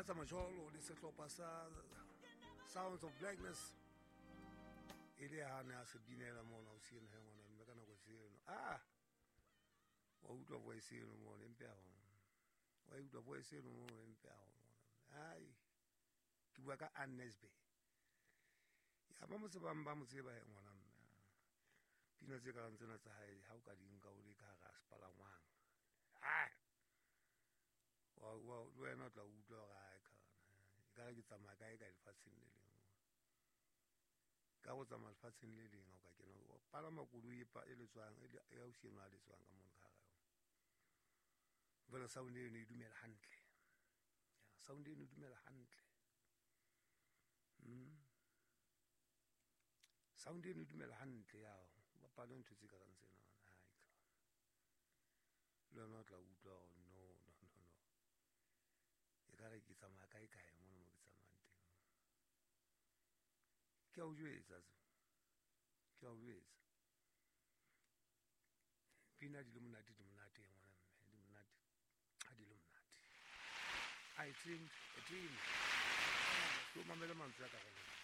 Venetsa Majolo le sehlopha sa Sounds of Blackness e le ha ne a se binela mona o sieno he ngwana mme ka nako tseno ah wa utlwa voice eno mona empe ya gona wa utlwa voice eno mona empe ya gona ai ke bua ka Annesbe ya ba mo tsebang ba mo tseba he ngwana mme pina tse karang tsena tsa hae ha o ka di nka o le ka hara sepalangwang ah le wena o tla utlwa gore ae kana e kare ke tsamaya kae ka lefatsheng le leng ka go tsamaya lefatsheng le leng o ka kena o palama koloi e letswang e ausi eno a letswang ka mono ka gare yone jale sound eno e dumela hantle sound eno e dumela hantle sound eno e dumela hantle ya bapale ntho tse ka rang tsena ai le wena o tla utlwa gore no no no no e ka re ke tsamaya kae kae mono mo ke tsamayang teng ke a o jwetsa se ke a o jwetsa pina di le monate di monate ngwana mme di monate ha di le monate. I dreamed a dream. Ke o mamele mantswe a ka reng.